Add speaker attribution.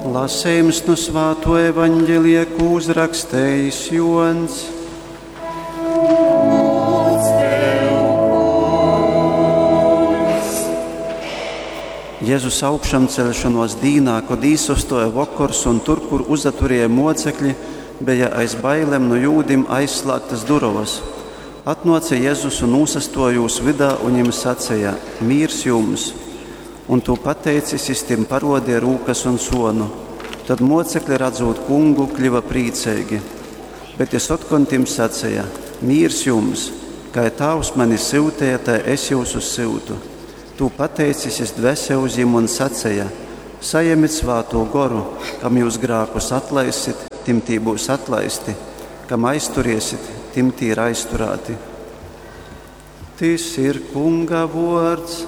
Speaker 1: Lasījums nu Svāto evaņģelija, ko uzrakstījis Jons. Jēzus augšamceļšanos dīnā, kad īsastoja vokors un tur, kur uzaturēja mocekļi, bija aiz bailēm no jūdim aizslēgtas durovas. Atnāca Jēzus un nūsastoja jūs vidā un viņiem sacīja: Mīrs jums! Un to pateicis, jis tim parodīja rūkas un sonu. Tad mocekļi, redzot kungu, kļuva priecīgi. Bet jis otkon tim sacīja: Mīrs jums! Kā Tēvs mani syutīja, tai es jūs syutu. Tū pateicis, jis dvese uz jim un sacīja: Sajemit svāto goru, kam jūs grākus atlaisit, tim tī būs atlaisti, kam aizturiesit, tim tī ir aizturēti. Tis ir Kunga vārds.